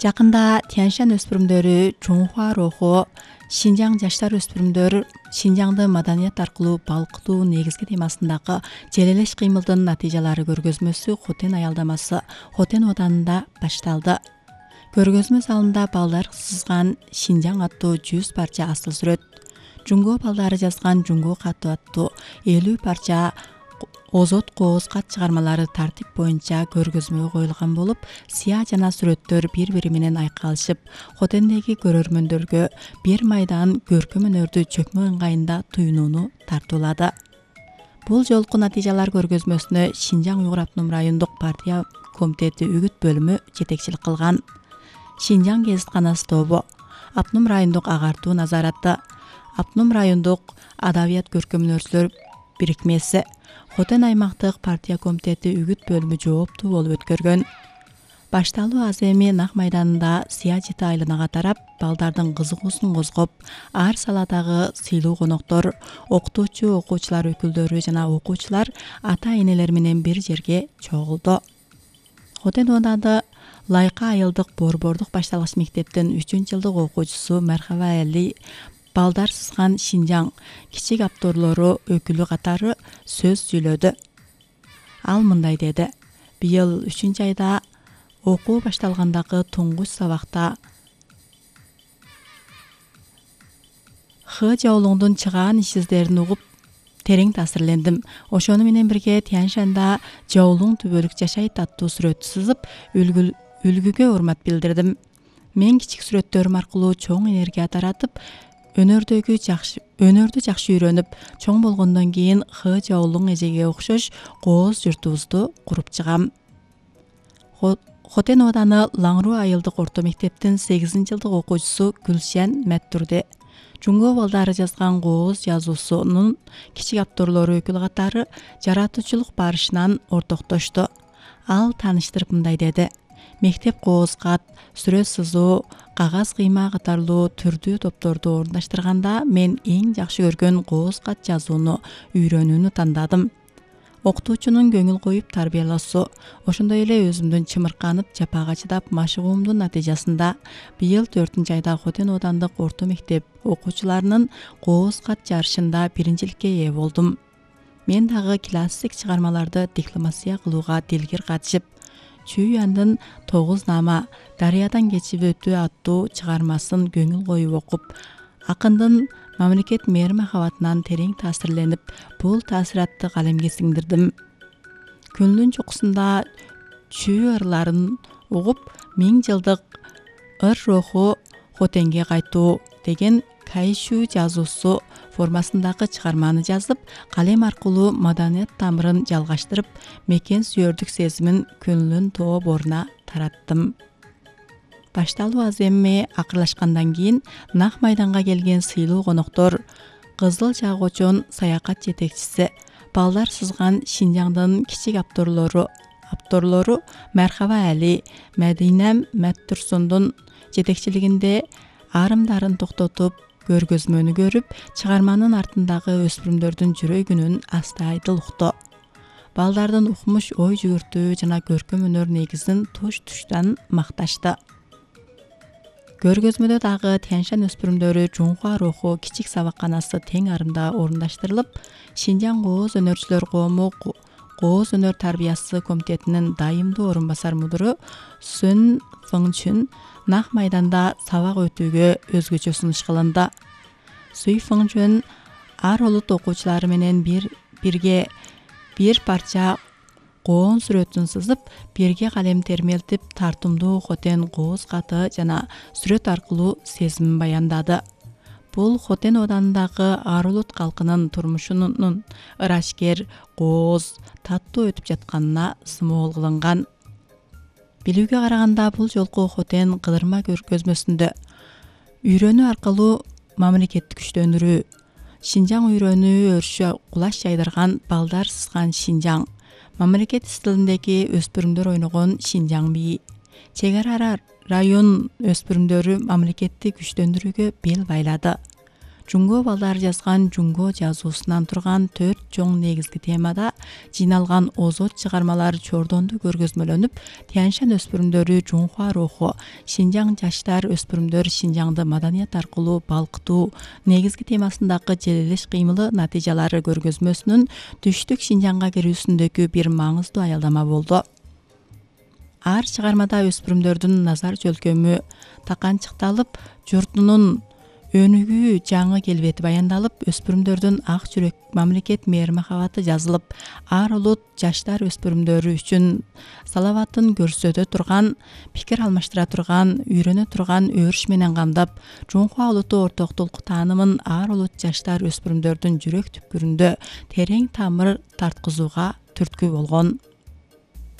Жакында Тяньшань өспүрүмдөрү Чуңхуа руху Шинжаң жаштар өспүрүмдөр Шинжаңды маданият аркылуу балкытуу негизги темасындагы желелеш кыймылдын натыйжалары көргөзмөсү Хотен аялдамасы Хотен оданында башталды. Көргөзмө залында балдар сызган Шинжаң аттуу 100 парча асыл сүрөт, Жуңго балдары жазган Жуңго каты аттуу 50 парча озот кооз кат чыгармалары тартип боюнча көргөзмөгө коюлган болуп, сыя жана сүрөттөр бири-бири менен айкалышып, Хотендеги көрөрмөндөргө бир майдан көркөм өнөрдү чөкмө ыңгайында туюнууну тартуулады. Бул жолку натыйжалар көргөзмөсүнө Шинжаң Уйгур Автоном райондук партия комитети үгүт бөлүмү жетекчилик кылган. Шинжаң гезитканасы тобу, Автоном райондук агартуу назараты, Автоном райондук адабият көркөмөнөрчүлөр бирикмеси, Хотен аймактык партия комитети үгүт бөлүмү жооптуу болуп өткөргөн. Башталуу аз эми Нак майданында сыя жети айланага тарап, балдардын кызыгуусун козгоп, ар саладагы сыйлуу коноктор, окутуучу, окуучулар өкүлдөрү жана окуучулар ата-энелер менен бир жерге чогулду. Хотен оодада Лайка айылдык борбордук башталгыч мектептин 3-жылдык окуучусу Мархаба Али балдар сызган Шинжаң кичик авторлору өкүлү катары сөз сүйлөдү. Ал мындай деди: быйыл 3-айда окуу башталгандагы туңгуч сабакта Х Жаолуңдун чыгаан иш издерин угуп терең таасирлендим. Ошону менен бирге Тяньшанда Жаолуң түбөлүк жашайт аттуу сүрөттү сызып, үлгүгө урмат билдирдим. Мен кичик сүрөттөрүм аркылуу чоң энергия таратып, өнөрдү жакшы үйрөнүп, чоң болгондон кийин Х Жаолуң эжеге окшош кооз журтубузду куруп чыгам. Хотен ооданы Лаңруу айылдык орто мектептин 8-жылдык окуучусу Гүлшен Мәттүрде Жуңго балдары жазган кооз жазуусунун кичик авторлору өкүлү катары жаратуучулук барышынан ортоктошту. Ал тааныштырып мындай деди: мектеп кооз кат, сүрөт сызуу, кагаз кыйма катарлуу түрдүү топторду орундаштырганда мен эң жакшы көргөн кооз кат жазууну үйрөнүүнү тандадым. Окутуучунун көңүл коюп тарбиялоосу, ошондой эле өзүмдүн чымырканып, жапага чыдап машыгуумдун натыйжасында быйыл 4-айда Хотен оодандык орто мектеп окуучуларынын кооз кат жарышында биринчиликке ээ болдум. Мен дагы классик чыгармаларды декламация кылууга дилгир катышып, Чүйяндын 9 нама дарыядан кечип өтүү аттуу чыгармасын көңүл коюп окуп, акындын мамлекет мээр махабатынан терең таасирленип, бул таасиратты калемге сиңдирдим. Күндүн чокусунда чүй ырларын угуп, 1000 жылдык ыр руху Хотенге кайтуу деген кайшүү жазуусу формасындагы чыгарманы жазып, калем аркылуу маданият тамырын жалгаштырып, мекен сүйөрдүк сезимин көңүлдүн тоо боруна тараттым. Башталуу аз эми акырлашкандан кийин Нак майданга келген сыйлуу коноктор, Кызыл Жаагочон саякат жетекчиси, балдар сызган Шинжаңдын кичик авторлору Мархаба Али, Мәдинем Мәттүрсундун жетекчилигинде арымдарын токтотуп, көргөзмөнү көрүп, чыгарманын артындагы өспүрүмдөрдүн жүрөгүнүн астайдыл укту. Балдардын укмуш ой жүгүртүү жана көркөм өнөр негизин туш-туштан макташты. Көргөзмөдө дагы Тяньшань өспүрүмдөрү Чуңхуа руху кичик сабакканасы тең арымда орундаштырылып, Шинжаң кооз өнөрчүлөр коому кооз өнөр тарбиясы комитетинин дайымдуу орун басар мудуру Сүн Фыңчүн Нак майданда сабак өтүүгө өзгөчө сунуш кылынды. Суй Фыңчүн ар улут окуучулары менен бирге бир парча коон сүрөтүн сызып, бирге калем термелтип, тартымдуу Хотен кооз каты жана сүрөт аркылуу сезимин баяндады. Бул Хотен оодандагы ар улут калкынын турмушунун ырашкер, кооз, таттуу өтүп жатканына сымол кылынган. Билүүгө караганда, бул жолку Хотен кыдырма көргөзмөсүндө үйрөнүү аркылуу мамлекетти күчтөндүрүү, Шинжаң үйрөнүү өрүшү кулаш жайдырган балдар сызган Шинжаң, мамлекет стилиндеги өспүрүмдөр ойногон Шинжаң бии, чек ара район өспүрүмдөрү мамлекетти күчтөндүрүүгө бел байлады. Жунго балдары жазган Жунго жазуусунан турган 4 чоң негизги темада жыйналган озот чыгармалар чордонду көргөзмөлөнүп, Тянь-Шань өспүрүмдөрү Жунхуа руху, Шинжаң жаштар өспүрүмдөр Шинжаңды маданият аркылуу балкытуу негизги темасындагы желелеш кыймылы натыйжалары көргөзмөсүнүн түштүк Шинжаңга кирүүсүндөгү бир маңыздуу аялдама болду. Ар чыгармада өспүрүмдөрдүн назар жөлкөмү таканчыкталып, журтунун өнүгүү жаңы келбети баяндалып, өспүрүмдөрдүн ак жүрөк мамлекет мээри-махабаты жазылып, ар улут жаштар өспүрүмдөрү үчүн салаватын көрсөтө турган, пикир алмаштыра турган, үйрөнө турган өрүш менен камдап, Жунхуа улуту ортоктулук таанымын ар улут жаштар өспүрүмдөрдүн жүрөк түпкүрүндө терең тамыр тарткызууга түрткү болгон.